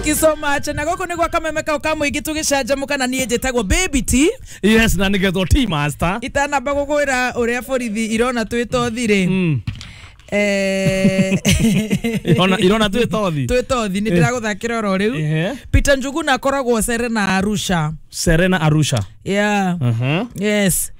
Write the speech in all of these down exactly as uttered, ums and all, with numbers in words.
Thank you so much. Na goko niguo kameme kau ka muingi tugicanjamuka na nie njitagwo Baby T. Yes, na nigetwo T Master. Itanamba gukwira uria borithi irona twitothi ri. Mm. Eh irona irona twitothi. Twitothi ni ndiraguthakira oro riu. Peter Njuguna akoragwo Serena Arusha. Serena Arusha. Yeah. Mhm. Yes.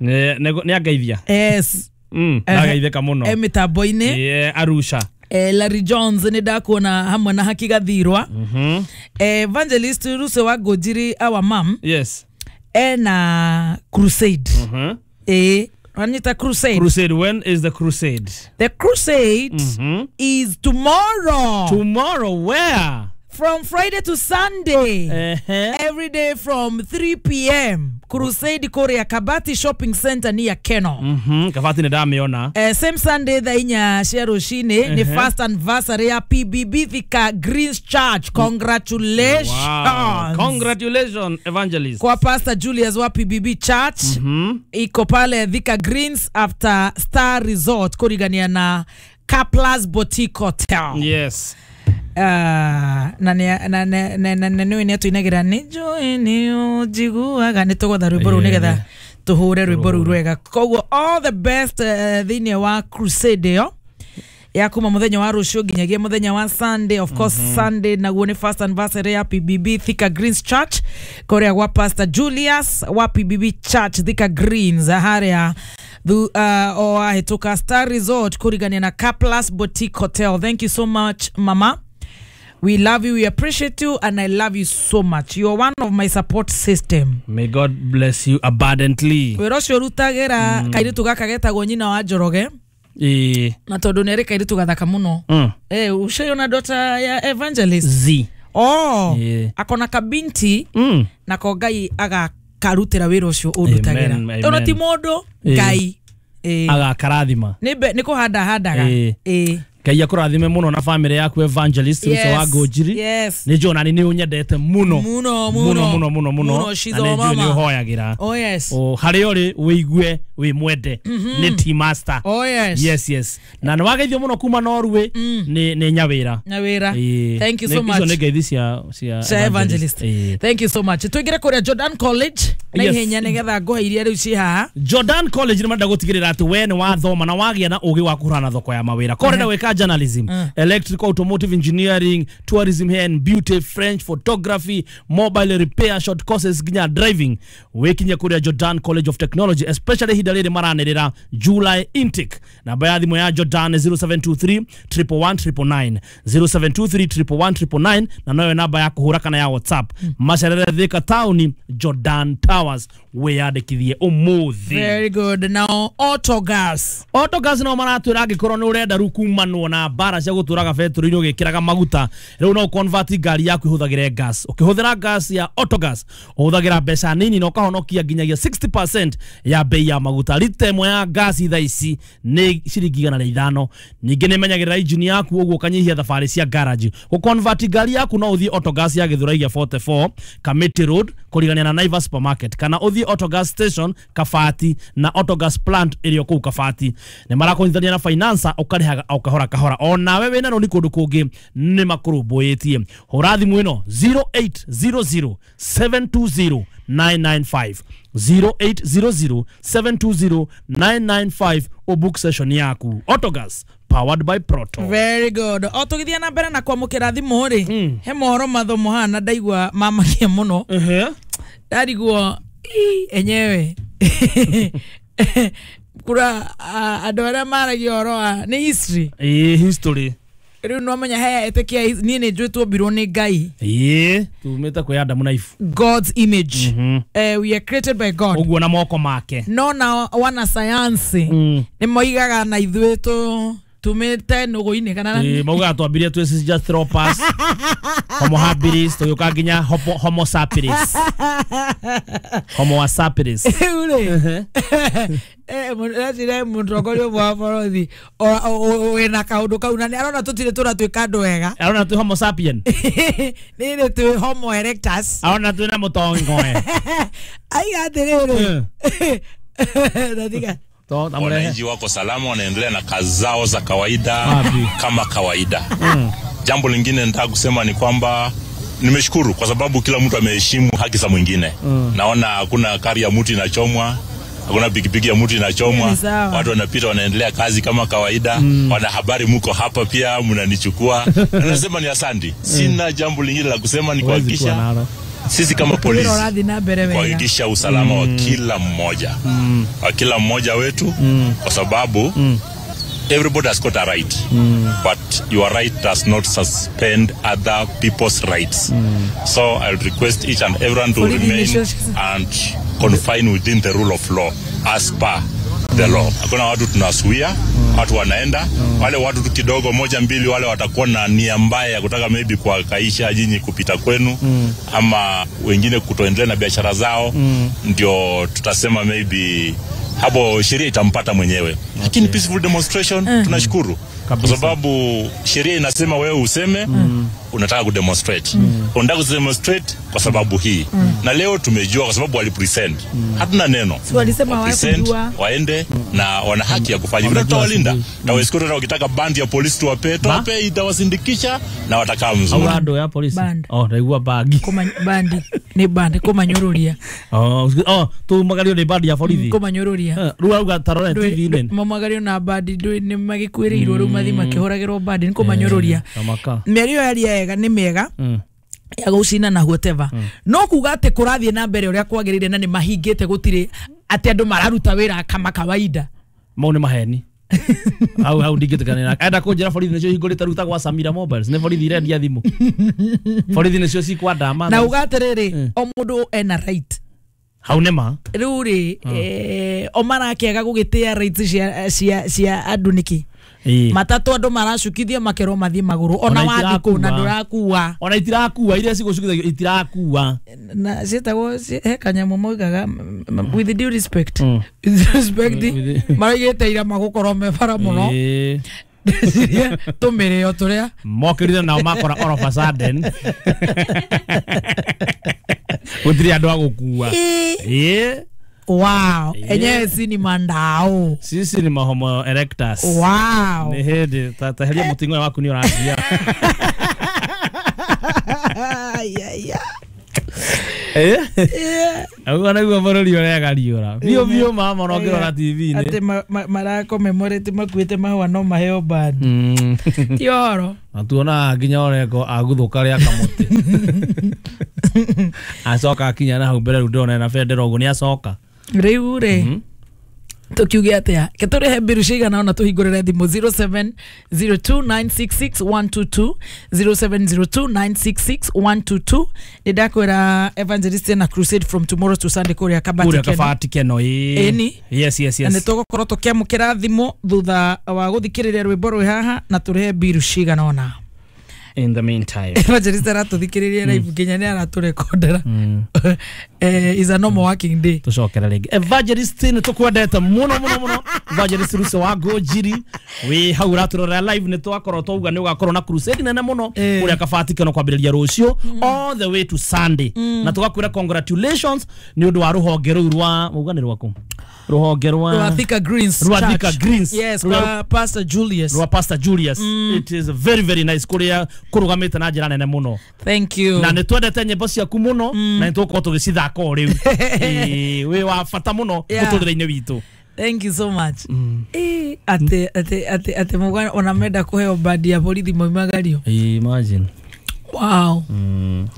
Ne ne angeithia. Yes. Mm, ndagaitheka muno. E mitambo-ini. Yeah, Arusha. Eh, Larry Jones ni ndakuona hamwe na Haki Gathirwa. Mhm. Eh, Evangelist Ruse wa Ngũnjiri, our mom. Yes. Ena crusade. Mhm. Eh, Anita crusade. Crusade, when is the crusade? The crusade mm-hmm. is tomorrow. Tomorrow where? From Friday to Sunday. Uh-huh. Every day from three p m Crusade Korea Kabati Shopping Center near Keno. Mhm. Kabati ni ndamiona. Eh, same Sunday thaa inya cia rucini uh-huh. ni first anniversary ya P B B Thika Greens Church. Congratulations. Wow. Congratulations Evangelist. Kwa Pastor Julius wa P B B Church. Mhm. Iko pale Thika Greens after Star Resort kurigania na Kaplas Boutique Hotel. Yes. Uh, na na na na na na nä nä tuinagira nä njå nä å njiguaga nä tå gwetha rwä mbo rå u nä getha tå hå re rwä mbo rå u rwega. Koguo all the best uh, thä inä wa crusade ä yo ya kuma muthenya wa rucio nginyagia muthenya wa Sunday. Of course mm -hmm. Sunday naguo ni first anniversary ya P B B Thika Greens Church korea gwa Pastor Julius wa P B B Church Thika Greens haria thu uh, o ahituka Star Resort kurigania na Kaplas Boutique Hotel. Thank you so much mama. We love you, we appreciate you, and I love you so much. You are one of my support system. May God bless you abundantly. Wĩra ũcio ũrutagĩra kairĩtu gaka getagwo nyina wa Njoroge. Eh. Na tondũ nĩ arĩ kairĩtu gathaka mũno. Mm. Eh, ushaiona daughter ya Evangelist? Z. Oh. Yeah. Akona kabinti mm. nako Ngai agakarutĩra wĩra ũcio ũndutagĩra. Tondũ ti mũndũ, Ngai. Eh. Agakarathima. Nĩ nĩ kũhanda handaga. Eh. Eh. Ngai akũrathime mũno na family yaku Evangelist yes, Ruto wa Ngũnjiri. Yes. Nĩ njũĩ nani nĩ ũnyendete mũno. Mũno mũno mũno mũno mũno. Mũno Na nĩ njũĩ nĩ ũhoyagĩra. Oh yes. O harĩa ũrĩ wĩigue wĩ mwende. Nĩ T Master. Oh yes. Yes yes. Na nĩ wageithio mũno kuma Norway nĩ nĩ Nyawĩra. Nyawĩra. Thank you so much. Icio nĩ ngeithi cia cia Evangelist. Thank you so much. Tuingire kũrĩa Jordan College na ihenya nĩgetha ngũhe iria rĩu ci haha. Jordan College nĩ marenda gũtigĩrĩra atĩ we nĩ wathoma na wagĩa na ũgĩ wa kũhũrana thoko ya mawĩra. Korenda gwĩka journalism, mm. electrical, automotive engineering, tourism, hair and beauty, French, photography, mobile repair, short courses nginya driving. Wikinye kuria Jordan College of Technology, especially hinda riri maranirira July intake. Namba ya thimu ya Jordan zero seven two three, triple one, triple nine, zero seven two three, triple one, triple nine, na noyo namba ya kuhura kana ya WhatsApp. Mm. Macerere Thika Town, Jordan Towers, wiyandikithie umuthi. Very good. Now Autogas. Autogas no maratwira angikorwo ni urenda ru kumanwo na mbara cia guturaga betũrũ-inĩ ũgĩkĩraga maguta rĩu no convert ngari yaku ihũthagĩre gas. Ũkĩhũthĩra gas ya Autogas ũhũthagĩra mbeca nini na ũkahonokia nginyagia sixty percent ya bei ya maguta. Lita ĩmwe ya gas thaa ici nĩ ciringi igana rĩa ithano. Ningĩ nĩ ĩmenyagĩrĩra injini yaku ũguo ũkanyihia thabarĩ cia garage. Gũconvert ngari yaku no ũthiĩ Autogas ya Gĩthũrai gĩa forty-four Kamiti Road kũrigania na Naivas Supermarket, kana ũthiĩ Autogas station Kabati na Autogas plant ĩrĩa kũu Kabati. Nĩ marakũnyitithania na financer ũkarĩhaga o kahora kahora. Onawe wĩna rũni kũndũ kũngĩ nĩ makũrũmbũyĩtie. Hũra thimũ ĩno zero eight zero zero, seven two zero, nine nine five, zero eight zero zero, seven two zero, nine nine five o book session yaku. Autogas powered by Proto. Very good. O tũgĩthiĩ na mbere na kwamũkĩra thimũ rĩ, he mohoro mathomo hana ndaigua mamakia mũno. Ndarigwo enyewe kura andũ arĩa maragia ũhoro wa nĩ history. Ĩĩ history. Rĩu no menya he ĩtĩkia niĩ nĩ njũĩ tuombirwo nĩ Ngai. Ĩĩ tumĩte kwĩ Adamu na Eve. God's image. Mm -hmm. Eh, we are created by God. Ũguo na moko make. No na wanasayansi mm. nĩ moigaga na ithuĩ tũ tumĩte nũgũ-inĩ kana ĩĩ maugaga twambirie twĩ Sahelanthropus, Homo habilis tũgĩũka nginya Homo sapiens. Homo sapiens. Rĩu rĩ eh mũndũ mũtongoria ũmwe wa borithi wĩna kaũndũ kau na nĩ arona tũtirĩ tũratuĩka andũ wega. Arona twĩ Homo sapien. Nĩ twĩ Homo erectus. Arona twĩ na mũtongoe. Aiga atĩrĩrĩ. Ndatiga. Wananchi wako salama, wanaendelea na kazi zao za kawaida Wapi? kama kawaida. Mm. Jambo lingine nataka kusema ni kwamba Nimeshukuru kwa sababu kila mtu ameheshimu haki za mwingine. Mm. Naona hakuna kari ya mtu inachomwa, hakuna pikipiki ya mtu inachomwa. Watu wanapita wanaendelea kazi kama kawaida. Mm. Wanahabari mko hapa pia mnanichukua. Nasema ni asante. Sina jambo lingine la kusema, ni kuhakikisha sisi kama polisi kuhakikisha usalama mm. wa kila mmoja. Mm. Wa kila mmoja wetu mm. kwa sababu mm. everybody has got a right. Mm. But your right does not suspend other people's rights. Mm. So I would request each and everyone to remain and confine within the rule of law as per the law. Hakuna watu tunasuia, mm. watu wanaenda, mm. wale watu kidogo moja mbili wale watakuwa na nia mbaya ya kutaka maybe kuwakaisha nyinyi kupita kwenu mm. ama wengine kutoendelea na biashara zao, mm. ndio tutasema maybe hapo sheria itampata mwenyewe. Lakini okay. peaceful demonstration mm. tunashukuru kwa sababu sheria inasema wewe useme mm. unataka kudemonstrate. Mm. Unataka kudemonstrate kwa sababu hii. Mm. Na leo tumejua kwa sababu walipresent. Mm. Hatuna neno. Si walisema hawakujua. Waende mm. na wana haki ya kufanya. Vile tutawalinda. Mm. Na wewe ukitaka bandi ya polisi tuwape, tuwape itawasindikisha na watakaa mzuri. Au ya polisi. Band. Oh, ndaigua bagi. Koma bandi ni bandi koma nyururia. Oh, oh, tu magario ni bandi ya polisi. Koma nyururia. Ruga ruga tarore T V nene. Mamagario na bandi ndu ni magikuirirwo riu mathi makihuragirwo bandi ni koma nyururia. Mĩario yaria yega ni mĩega. Ya gucina na whatever. Mm. No kuga ati kurathie na mbere uria kwagirire na ni mahingite gutire ati andu mararuta wira kama kawaida. Mau ni maheni. Au au ndingitikanira. Enda kunjira borithi nicio hingurite ruta gwa Samira Mobiles ni borithi irendia thimu. Borithi nicio cikwandama. Na uga atiriri o mundu ena right. Hau nema. Riu ri eh o marakiaga gugitia rights cia cia cia andu niki. Matatu andu maracukithia makerwo mathie maguru ona wathi ku na ndurakuwa ona itirakua iria cigucukithagio itirakua na cietagwo he kanyamu moigaga with due respect mm. with respect maraigite ira magukorwo me bara muno tumireo turia mokirire nao makora all of a sudden gutiri andu agukua eh. Wow, enyewe si ni mandao. Sisi ni mahomo erectus. Wow. Ni hende taheria mutingo waku ni urathia. Yeah, yeah. Eh? Yeah. Au na guo borori urega riura. Bio bio mama no ngirora T V ni. Ati mara commemorate makuite mahua no maheo band. Mm. Ti oro. Na tuona nginya oreko aguthuka ria kamuti. Acoka akinya na hau mbere riu ndona na bendera uguo ni acoka. Riu ri tukiuge atia ke turihe mbiru cigana ona tuhingurire thimu zero seven zero two nine six six one two two zero seven zero two nine six six one two two ni ndakwira evangelist na crusade from tomorrow to Sunday kuria Kabati Keno kuria Kabati Keno eni yes yes yes na nitugukorwo tukiamukira thimu thutha wa guthikiriria rwimbo rwi haha na turihe mbiru cigana ona. In the meantime, evangelist aratuthikiriria live nginya ni araturekondera. Eh, is a normal working day. Tucokere ringi. Evangelist ni tukwendete muno muno muno. Evangelist Ruso wa Ngũnjiri wi hau uraturora live ni twakorwo twauga ni ugakorwo na crusade nene muno kuria Kabati Keno kwambiriria rucio all the way to Sunday. Na tugakwira congratulations ni undu wa ruhonge ruu rwa uga ni rwaku. Ruhonge rwa rwa Thika Greens. Rwa Thika Greens. Yes, rwa Pastor Julius. Rwa Pastor Julius. It is very very nice kuria kurugamite na njira nene muno. Thank you. Na ni twendete nyimbo ciaku muno na ni tugukorwo tugicithaka o riu. Eh, wi wa bata muno muturire-ini witu. Thank you so much. Mm. Eh, ate ate ate ate mugana ona menda kuheo bandi ya borithi moimagario. Imagine. Wow. Mm.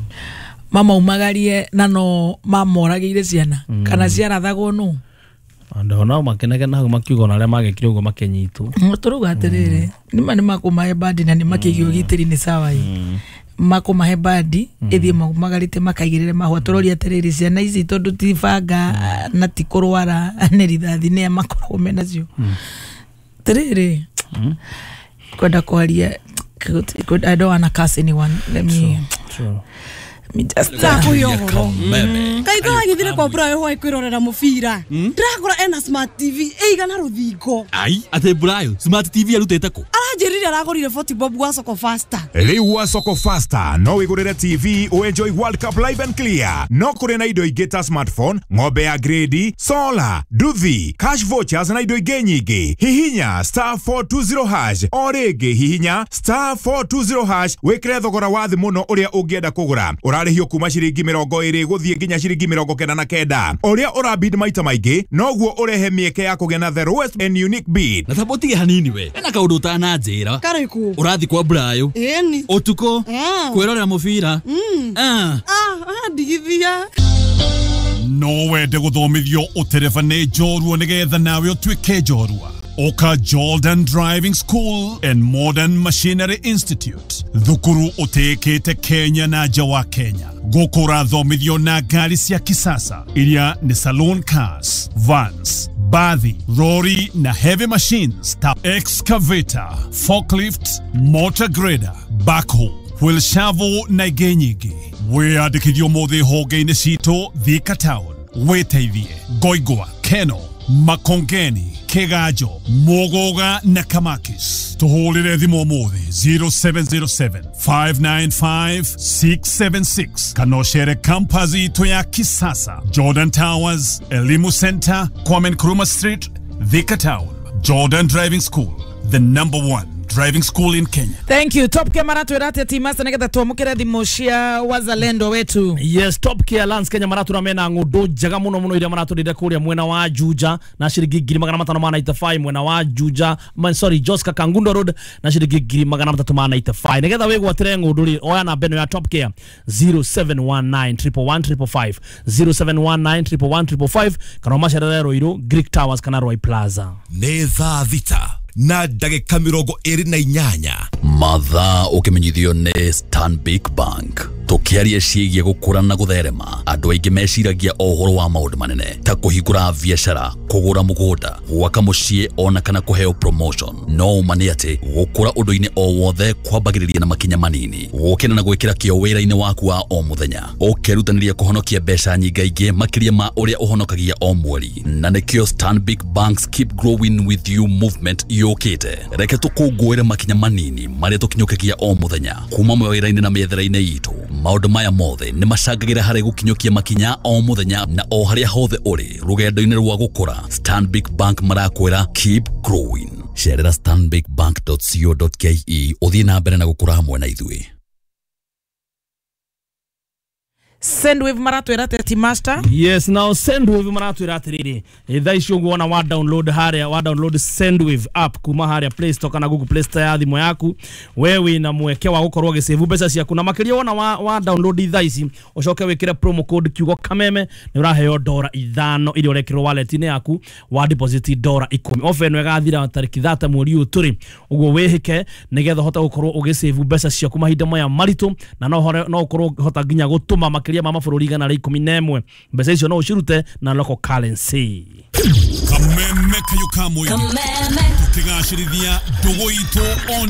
Mama umagarie na no mamorageire ciana mm. kana ciarathagwo no. Andũ nao makenege hau makiuga ona arĩa magekire ũguo makenyitwo. Tũrauga atĩrĩrĩ nĩma nĩmakũmahe bandi na nĩmakĩigio ũgitĩri nĩ sawa ĩ makũmahe bandi ĩthiĩ magarĩte makaigĩrĩre mahũa tũroria atĩrĩrĩ ciana ici tondũ ti banga na ti kũrwara nĩ rithathi nĩa makoragwo menacio atĩrĩrĩ kwenda kwaria I don't wanna curse anyone. Let me True. Takuyohoro kaitho agithire kwa Brayo hwai kwirorera mubira ndirakora ena smart T V ĩigana rũthingo. Ai ati Brayo smart T V arutĩte kũ? Aranjĩrire Aranjĩrire aragũrire forty bob gwa Soko Faster. Rĩu gwa Soko Faster no wĩgũrĩre T V uenjoy World Cup live and clear. No kũrĩ na indo ingĩ ta smartphone, ng'ombe ya grade, solar, nduthi, cash vouchers na indo ingĩ nyingĩ. Hihinya star four two zero hash o rĩngĩ hihinya star four two zero hash wĩkĩre thogora wa thĩ mũno ũrĩa ũngĩenda kũgũra. Ũrarĩhio kuma ciringi mĩrongo ĩrĩ gũthiĩ nginya ciringi mĩrongo kenda na kenda. Ũrĩa ũrabid maita maingĩ noguo ũrehe mĩeke ya kũgĩa na the lowest and unique bid. Na thambo hanini we ena kaundu utananjira Karĩkũ? Urathi kwa Brayo Ĩni. Utuko kwirorera mubira. Ah ah ndigithia. No wende guthomithio utereba ni njorua nigetha nawe utuike njorua. Oka Jordan Driving School and Modern Machinery Institute thukuru utekete Kenya na nja wa Kenya. Gũkũ ũrathomithio na ngari cia kisasa iria ni saloon cars, vans, bathi, lorry na heavy machines ta excavator, forklift, motor grader, backhoe, wheel shovel na ingĩ nyingĩ. Wĩyandĩkithio ũmũthĩ honge-inĩ citũ Thika Town, Wĩteithie, Ngoingwa, Keno, Makongeni, Kigajo, Mugoga na Kamakis. Tuhũrĩre thimũ ũmũthĩ zero seven zero seven, five nine five, six seven six kana ũcere campus itũ ya kisasa Jordan Towers, Elimu Center, Kwame Nkrumah Street, Thika Town. Jordan Driving School, the number one driving school in Kenya. Thank you. Top Care maratwĩra atĩa Timasa nĩgetha twamũkĩre thimũ cia wazalendo wetu. Yes, Top Care Lands Kenya maratwĩra mena ng'ũndũ njega mũno mũno iria maratũrĩire kũrĩa mwena wa Juja na ciringi ngiri magana matano ma ninety five, mwena wa Juja, man, sorry, Joska Kangundo Road na ciringi ngiri magana matatũ ma ninety five. Nĩgetha wĩgwatĩre ng'ũndũ rĩ, oya namba ĩno ya Top Care zero seven one nine, triple one, triple five, zero seven one nine, triple one, triple five, kana ũmacerere Ruiru, Greek Towers kana Roy Plaza. Nĩ thaa thita na ndagĩka mĩrongo ĩrĩ na inyanya. Mathaa ũkĩmenyithio nĩ Stanbic Bank. Tũkĩaria ciĩgiĩ gũkũra na gũtherema, andũ aingĩ meciragia o ũhoro wa maũndũ manene ta kũhingũra biacara, kũgũra mũgũnda, gwaka mũciĩ ona kana kũheo promotion. No ũma nĩ atĩ gũkũra ũndũ-inĩ o wothe kwambagĩrĩria na makinya manini, gũkĩra na gwĩkĩra kĩo wĩra-inĩ waku wa o mũthenya, ũkerutanĩria kũhonokia mbeca nyingaingĩ makĩria ma ũrĩa ũhonokagia o mweri. Na nĩkĩo Stanbic Bank's Keep Growing With You movement yũkĩte. Reke tũkũngũĩre makinya manini marĩa tũkinyũkagia o mũthenya kuma mawĩra-inĩ na mĩethere-inĩ itũ. Maũndũ maya mothe nĩ macangagĩra harĩ gũkinyũkia makinya o mũthenya na o harĩa hothe ũrĩ rũgendo-inĩ rwa gũkũra. Stanbic Bank marakwĩra keep growing. Cerera stanbic bank dot co dot ke ũthiĩ na mbere na gũkũra hamwe na ithuĩ. Sendwave maratwĩra atĩa Timasta? Yes, now Sendwave maratwĩra atĩrĩrĩ, thaa ici ũguo wona wa download harĩa, wa download Sendwave app kuma harĩa Play Store kana Google Play Store ya thimũ yaku, we wĩna mweke wa gũkorwo ũgĩsave mbeca ciaku na makĩria wona wa, wa download thaa ici ũcoke wĩkĩre promo code kiugo kameme nĩ ũraheo dora ithano iria ũrekĩrwo wallet-inĩ yaku wa deposit dora ikũmi. Offer ĩno ĩgathira tarĩki thate mweri ũyũ tũrĩ, ũguo wĩhĩke nĩgetha ũhote gũkorwo ũgĩsave mbeca ciaku mahinda maya maritũ na no no ũkorwo ũkĩhota nginya gũtũma makĩria ma mabũrũri igana rĩa ikũmi na ĩmwe. Mbeca icio no ũcirute na local currency. Kameme kayo kamwe. Tukigacĩrithia ndũgũ itũ on